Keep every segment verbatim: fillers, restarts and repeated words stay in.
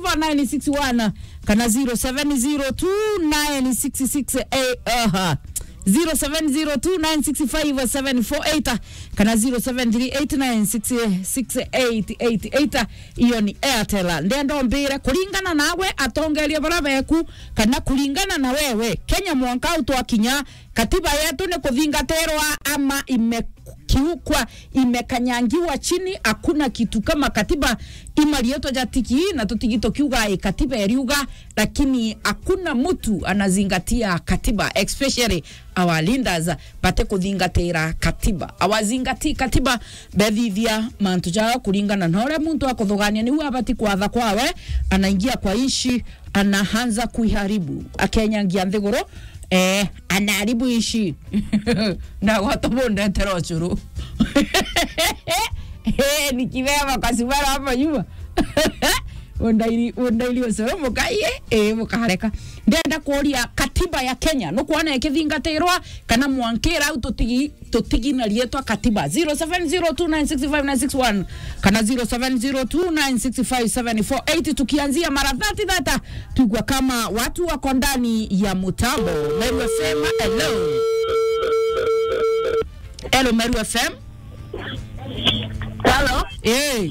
five nine six one kana zero seven zero two nine six six eight, aha, zero seven zero two nine six five seven four eight kana zero seven three eight nine six six eight eight eight. Iyo ni Airtel. Ndenda umbire, kuringana nawe, atongeria bara beku, kana kuringana na wewe, Kenya mwanka u twakinya, katiba yetu ni kuthingatirwa ama imekiukwa, imekanyangiwa chini? Hakuna kitu kama katiba. Ima rietwa ja tigi, na tutigi tukiuga i katiba iriuga, lakini hakuna mtu anazingatia katiba, especially our leaders bate kuthingatira katiba. Awazingatii katiba, bethithia mantu jao kuringana na uria muntu akuthugania niu abati kwatha kwawe, anaingia kwa nchi, anaanza kuiharibu, akenyangia nthiguru, eh, anaharibu nchi. Na gwata bundetera ucuru. Eh, ni kibeba kasubara hapa nyuma. Undairi, undairi ucuru mukaie, eh, mukareka. Ndenda kuria katiba ya Kenya, nukwona ikithingatirwa, kana mwankira au tutigi, tutigi na rietwa katiba? Zero seven zero two nine six five nine six one kana zero seven zero two nine six five seven four eight, tukianzia mara thirty thirty, tuigua kama watu wako ndani ya mutambo. Meru F M, hello. Hello, Meru F M. Hello. Eh.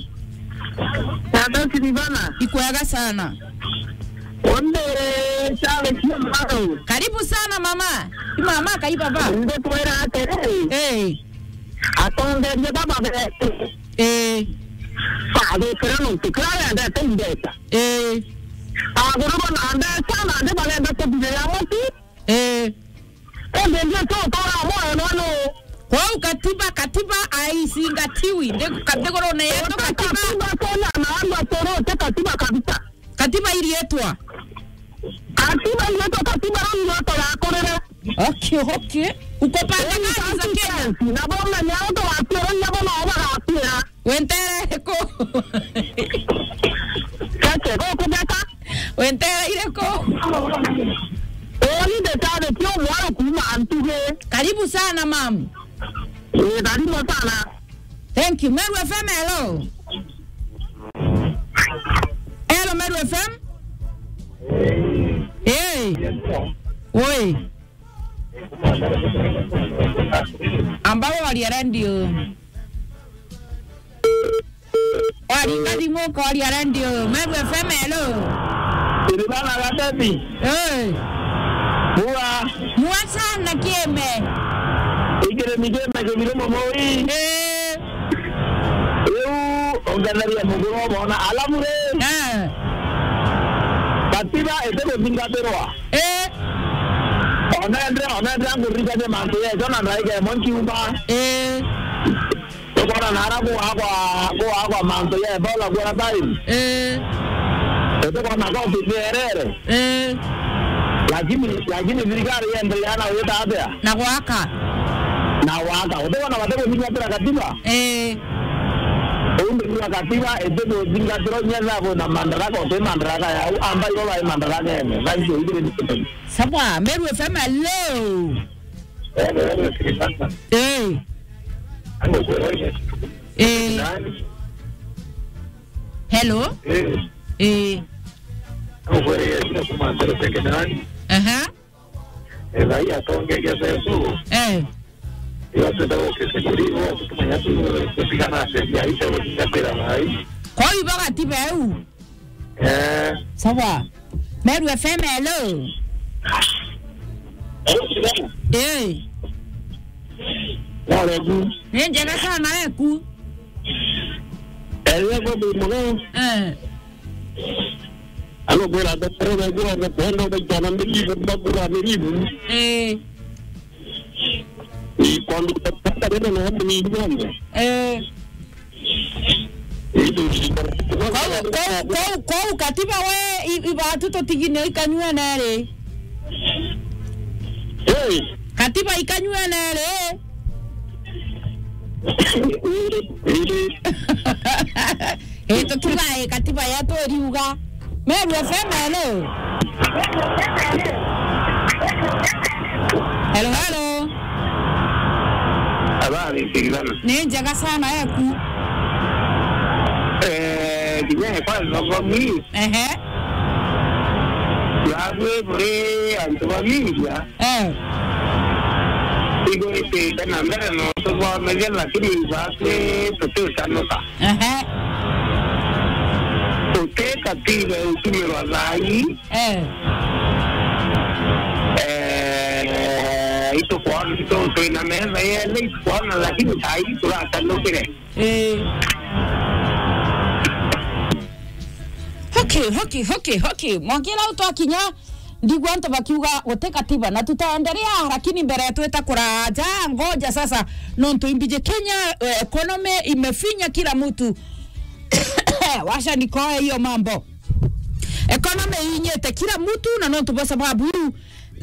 Tata Silvana. Ikwega sana. Onde chale sio maro. Karibu sana mama. Ni mama kai baba. Ndio tuera atere. Eh. Atongeria baba be. Eh. Fa de kera no tu kera ya da tendeta. Eh. Aguru na anda sana ande bagenda kuthire ya muti. Eh. Ende ndio tu tora moyo no no. Kwou katiba, katiba aizingatiwi. Ndi-, ka-, nthigurune yetu katiba. Katiba tena na andu atorote katiba kabisa. Katiba irietwa. Katiba irietwa, katiba irietwa ya kurire. Okay, okay. Uko pande gani za Kenya? Na bona nyao to atira, na bona oba atira. Wentere ko. Kake, ko kubeka? Wentere ire ko? Oni de tade tio mwaro kuma antuge. Karibu sana, mam. Eh, karibu sana. Thank you. Meru F M, hello. Hello, Meru F M. Hey. Oi. Ambao waria radio. Waringa thimu ukoria radio. Meru F M, hello. Silvana Gateti. Hey. Mua. Mua sana kieme. Ikire ni kieme kibire mumoi. Eh. Riu ongetheria muguro bona. Alafu ri. Eh. Katiba ite guthingatirwa. Eh. Onendre, onendre anguririkania mantu yejo na ndaika imwe nkiumba. Eh. Tukona nara kuakwa, kuakwa mantu ya Ebola quarantine. Eh. Tukona koti nierere. Eh. Lakini, lakini thirikari yendelea na wita atia? Na gwaka. Na gwaka. Utikona batikuthingatira katiba? Eh. Undi kwa katiba itikuthingatirwa nyetha kwina madaraka, uti madaraka yau, amba ibo bai madarakene. Thank you, ikire ni. Sawa, Meru F M, hello. Eh. Eh. Hello? Eh. Aha. Eh. Kwa hivyo katiba eu. Eh. Sawa. Meru F M, hello. Eh. Ni njega sana eku. Eh. Ano kwira atarore kuona kwenda ubaitana miribu, bakura miribu. Eh. Ni kwandu kata rero na hamu ni ngombe. Eh. Kwou, kwou, kwou, kwou katiba we i-, ibatu tutigine ikanyuene ri? Hey. Katiba ikanyuene ri? Eh, tukiuga, eh, katiba yetu iriuga. Meru F M, hello. Hello, hello. Habari, Silvana. Ni njega sana, eku. Eh, Kinya kwa thogomi. Ehe. Yawe buri antu bamingia. Eh. Igwitite na mbere no tubonagia, lakini ibakwi tutitanuka. Ehe. Tuteka tiga utumirwa thai. Eh. Eh, itukwona, itu-, twina metha yele itukwona, lakini thai turatanukire. Eh. Okay, okay, okay, okay. Mwangira utwakinya, ndigwa antu bakiuga guti katiba na tutaendelea, lakini mbere twita kuraja, ngoja sasa, nontu imbiji Kenya, eh, economy imefinya kila mtu. Washa nikoe hiyo mambo. Economy inyite kila mtu na nontu bwa sababu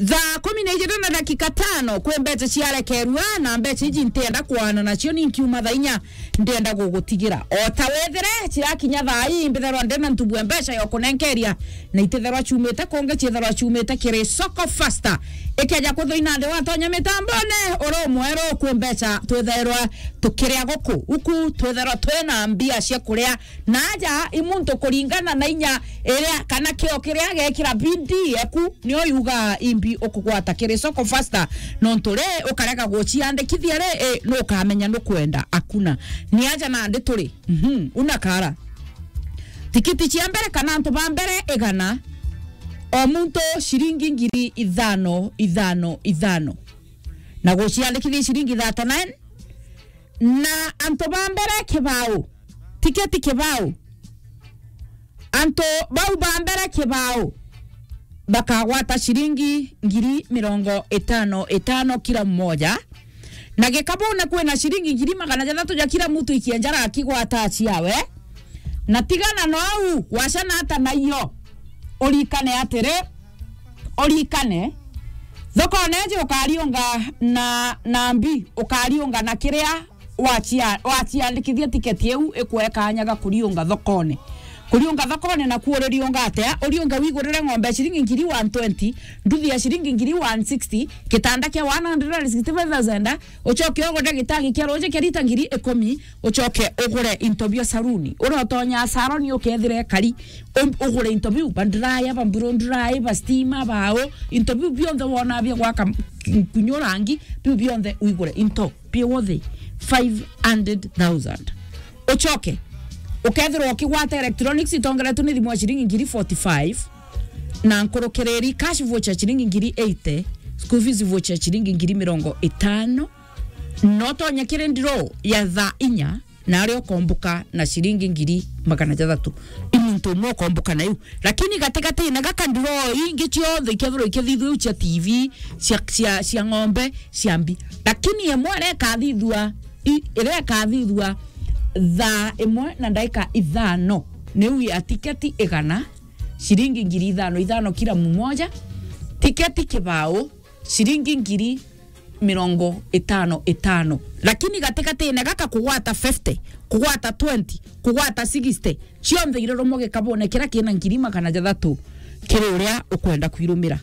thaa kumi na ijiri na dakika tano kwi mbeca ciarekerua, na mbeca iji ntienda kwana nacio, ni nkiuma thaa inya ndienda gugutigira. O ta wethire cirakinya thaa ii, mbitherwa ndina ntubu ya mbeca ya kunenkeria, na ititherwa ciumite kungi, ciitherwa ciumite kiri Soko Fasta. Ikeja kwithwa ina nthi watonya mitambone, uri umweru kwi mbeca twitherwa tukiria guku. Uku twitherwa twina mbia cia kuria na aja i muntu kuringana na inya iria kana kio kiria agekira bidii eku, nio yuga imbi ukugwata kiri Soko Fasta, nontu ri ukarega guciandikithia ri, i, nukamenya nukwenda akuna. Ni aja nandi turi. Mhm, una kara. Tikiti cia mbere kana antu ba mbere igana, o muntu ciringi ngiri ithano, ithano, ithano. Na guciandikithia ciringi thirty-nine, na antu ba mbere kibao, tiketi kibao, antu bau ba mbere kibao bakagwata ciringi ngiri mirongo itano itano kila mmoja, na gikabune kwina ciringi ngiri magana jathatu ja kila muntu ikienjara akigwata ciawe. Na tigana no au, wacana ata naio, urikane atiri, urikane, thokone iji ukariunga na, na mbi, ukariunga na kiria wacia-, waciandikithia tiketi iu ikwe kanya ga kuriunga thokone. Kuriunga thokone na kuuririunga atia? Uriunge wigurire ng'ombe ya ciringi ngiri one twenty, nduthi ya ciringi ngiri one sixty, kitanda kia one hundred and sixty-five thousand, ucoke ugure gitagi kia ruuji kia rita ngiri ikumi, ucoke ugure into bia saruni. Uria utonya saruni ukethire kari, um, ugure into biu, ba dryer, ba blow dryer, ba stima, bao, into biu bionthe wona bia gwaka m-, kunyo rangi, biu bionthe uigure into bia worth five hundred thousand. Ucoke ukethirwa ukigwata electronics itongeretwe ni thimu ya ciringi ngiri forty-five, na nkurukiriri cash voucher ciringi ngiri eighty, school fees voucher ciringi ngiri mirongo itano, no tonye kiri ndiro ya thaa inya, na aria ukombuka na ciringi ngiri magana jathatu. I muntu umwe ukombuka na iu. Lakini gatigati-ini gaka ndiro ingi cionthe ikethirwa ikithithua iu cia T V, cia, cia, cia ng'ombe, cia mbi. Lakini imwe iria ikathithua, i-, iria ikathithua thaa imwe na ndaika ithano, niu ya tiketi igana, ciringi ngiri ithano, ithano kila mmoja, tiketi kibao, ciringi ngiri mirongo itano itano. Lakini gatigati-ini gaka kugwata fifty, kugwata twenty, kugwata sixty, cionthe irurumwe gikabune kiria kina ngiri magana jathatu kiri uria ukwenda kwirumira.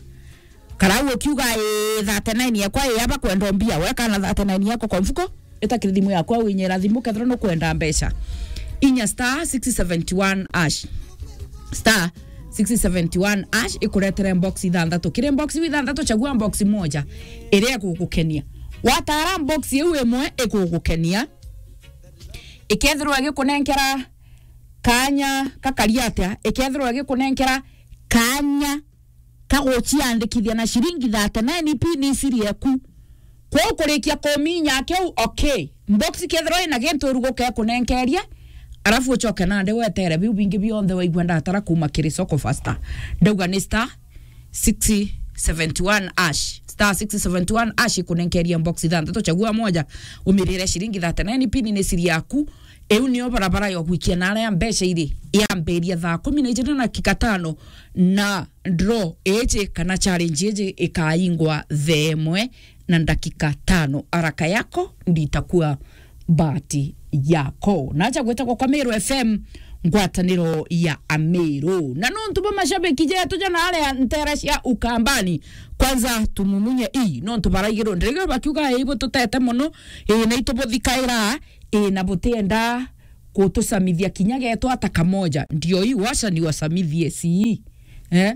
Karau ukiuga, "Ii, thirty-nine yakwa ii yaba kwenda mbia," we kana thirty-nine yako kwa mfuko, ita kiri thimu yakwa, winyira thimu kethira nukwenda mbeca. Inya star six seventy one hash. Star six seventy one hash ikuretere box ithanthatu. Kiri box iu ithanthatu, chagua box moja iria igugukenia. Watara box iu imwe igugukenia, ikethirwa igikunenkera kanya gakari atia, ikethirwa igikunenkera kanya ka guciandikithia na ciringi thirty-nine pin iciri eku. Kwou kurikia kuminya kiu, okay. Box kethirwa ina gintu uruguke kunenkeria, arafu ucoke nandi wetere biu bingi bionthe waigua ndatara kuma kiri Soko Fasta. Ndauga ni star six seventy one hash. Star six seventy one hash ikunenkeria box ithanthatu, chagua moja, umirire ciringi thirty-nine pin ni siri yaku. Iu nio barabara ya gwikia na aria mbeca iri. Yambiria thaa kumi na ijiri na dakika tano, na draw iji kana challenge iji ikaingwa thaa imwe na ndakika tano. Haraka yako nditakuwa bahati yako. Naja gwitagwa kwa Meru F M, ngwataniro ya Ameru. Na nontu bwa mashabiki jetu jana aria ntere cia Ukambani, kwanza tumumunye ii, nontu baraigirwo ndirigiro bakiuga, "Ii, bututete mono, ii, na itubuthikaira, ii, na butienda kutucamithia kinya getu ata kamoja. Ndio hii washa ni wasamithie si. Eh?